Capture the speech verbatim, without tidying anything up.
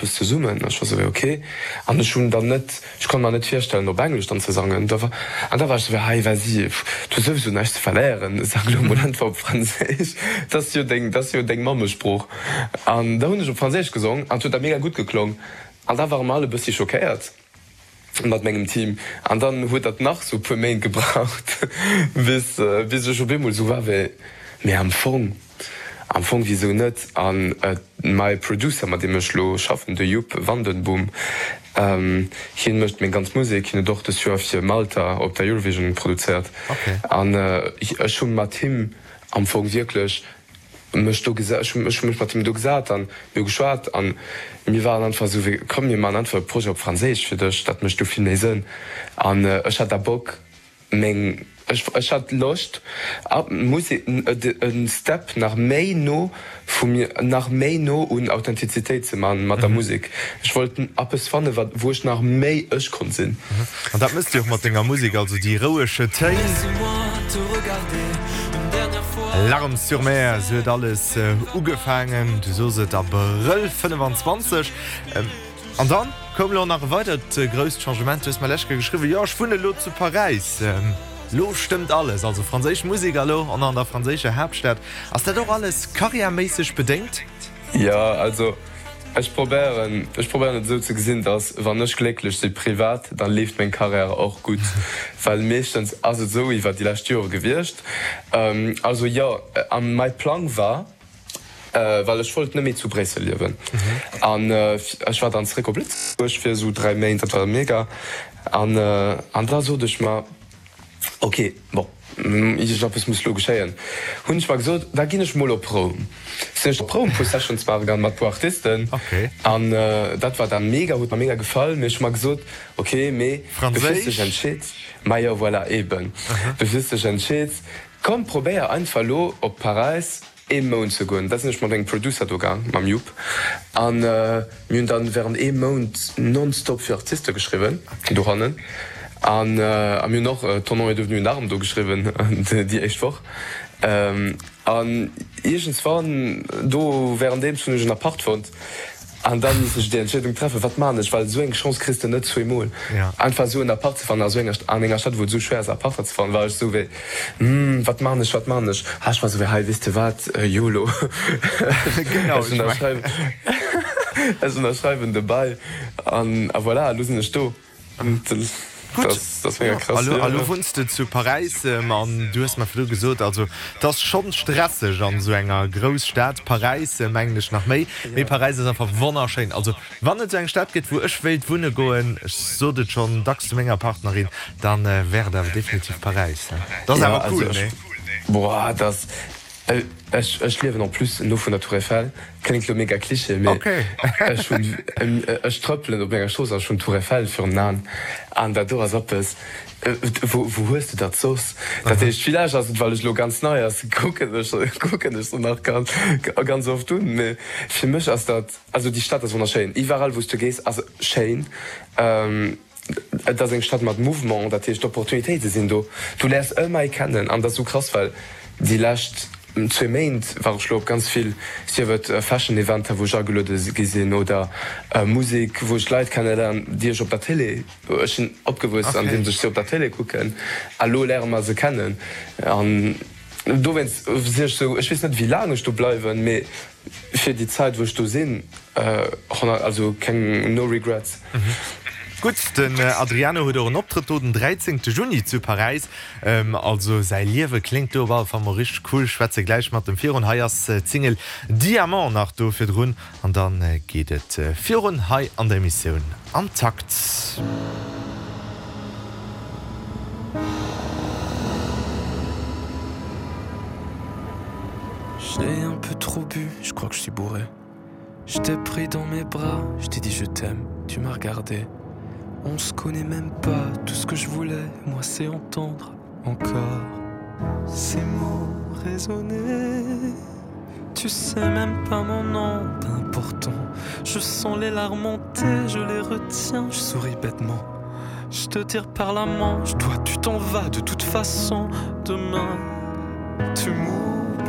eppes zesummen. Ech war sou wéi ok. An ech hunn dann net, ech konnt mer net virstellen op Englesch dann ze sangen. Da war, an da war ech sou wéi, hei vas-y, du hues souwisou näischt ze verléieren, sang elo mol einfach op Franséisch, dat ass jo deng, dat ass jo deng Mammesprooch. An da hunn ech op Franséisch gesong an et huet da mega gutt geklong. An da ware mer all e bëssi schockéiert mat mengem Team. An dann huet dat nach sou e puer Méint gebraucht, bis, bis ech op eemol sou war wéi, mee am Fong, Am Fong, wisou net? An mäi Producer, mat deem ech lo schaffen, de Joep Vandenboom, hien mécht meng ganz Musek. Hien huet och dëst Joer fir Malta op der Eurovision produzéiert. An ech hu mat him am Fong wierklech mech do gesa, ech hu mech mat him do gesat an mir hu geschwat an mir waren einfach esou wéi, komm mir maachen einfach e Projet op Franséisch fir dech, dat mécht do vill méi Sënn. An ech hat da Bock, Meng, ech, ech hat Loscht ab Musek e Step nach méi no vu mir, nach méi no un Authentizitéit ze man mat der Musek. Ech wollt eppes fannen, wat, wou ech nach méi ech konnt sinn. An dat mëss de och mat denger Musek, also déi rouege Téin. Larmes sur mer, sou huet alles ugefaangen, du sos et, Abrëll fënnefanzwanzeg. An dann koum lo nach e weidert grousst Changement, du hues mer lech Kéier geschriwwen, jo ech wunne lo zu Paräis, lo stëmmt alles, also franséisch Musek a lo an an der franséischer Haaptstad. Ass dat och alles karriärméisseg bedéngt? Jo, also ech probéieren, ech probéieren et esou ze gesinn, dass wann ech glécklech si privat, da leeft meng Karriär och gutt, well meeschtens ass et esou iwwer déi lescht Jore gewiescht. Also jo, a mäi Plang war, Well ech wollt net méi zu Bréissel liewen. An ech war dann zeréck op Lëtzebuerg fir esou dräi Méint, dat war mega. An an da sot ech mer, ok, bon, iergendeppes muss elo geschéien. Hunn ech mer gesot, da ginn ech mol op Roum. Sinn ech op Roum puer Sessions maache gaangen mat puer Artisten. An dat war da mega, huet mer mega gefall. Mee ech hu mer gesot, ok, mee du fils dech entscheet, majo voilà, eben, du fils dech entscheet, komm probéier einfach elo op Paräis ee Mount ze goen. Da sinn ech mat engem Producer do gaang, mam Jupp, an mir hunn dann während ee Mount nonstop fir Artiste geschriwwen dohannen. An a mir hunn och Ton nom est devenu une arme do geschriwwen déi éischt Woch. An iergendswann do währenddeems hunn ech en Apart fonnt. An dann misst ech déi Entscheedung treffen, wat maan ech, well esou eng Chance kriss de net zweemol. Einfach esou en Appart ze fannen a sou enger, an enger Stad wou et esou schwéier ass Apparter ze fannen, war ech esou wéi, hm, wat maan ech, wat maan ech? Ha ech war esou wéi, hei weess de wat, yolo, ech ënnerschreiwen, ech ënnerschreiwen de Bail an a voilà, elo sinn ech do. Gutt, a lo wunns de zu Paräis an du hues mer virdru gesot, also et ass schonn stresseg an esou enger Grousstad, Paräis mengen ech nach méi, mee Paräis ass einfach wonnerschéin. Also wann et esou eng Stad gëtt, wou ech wéilt wunne goen, ech sot et schonn dacks zu menger Partnerin, da wär et awer definitiv Paräis. Dat ass awer cool, nee? Boah, dat Ech ech liewen en plus no vun der Tour Eiffel, kléngt lo mega Cliché, mee ech hunn ech trëppelen op menger Strooss an ech hunn d'Tour Eiffel virun den Aen an dat do ass eppes, wou wou hues de dat soss? Dat heescht, villäicht ass et well ech lo ganz nei ass, kucken ech kucken ech se nach ganz ganz oft un, mee fir mech ass dat, also déi Stad ass wonnerschéin, iwwerall wou s du gees ass schéin. Et ass eng Stad mat Mouvement, dat heescht d'Opportunitéite sinn do. Du léiers ëmmer ee kennen an dat ass esou krass, well déi lescht zwee Méint war ech lo op ganz vill, sief et Fashion Eventer wou ech ageluede gi sinn oder Musek wou ech Leit kenneléieren, déi ech op der Télé, ech sinn opgewuess andeems ech si op der Télé kucken a lo léiere mer se kennen an dowéinst sinn ech esou, ech weess net wéi laang ech do bleiwen, mee fir déi Zäit wou ech do sinn, also keng, no regrets. Gutt, den Adriano huet och en Optrëtt do den dräizéngte Juni zu Paräis. Also säi Liewe kléngt do op alle Fall mol richteg cool. Schwätze gläich mat em virun. Hei ass d'Single Diamant nach do virdrun an dann geet et virun hei an der Emissioun Am Takt. J'ai un peu trop bu, je crois que je suis bourré. Je t'ai pris dans mes bras, je t'ai dit je t'aime, tu m'as regardé. On se connaît même pas, tout ce que je voulais, moi c'est entendre encore ces mots résonner. Tu sais même pas mon nom d'important. Je sens les larmes monter, je les retiens, je souris bêtement. Je te tire par la manche, toi tu t'en vas de toute façon demain. Tu mourras.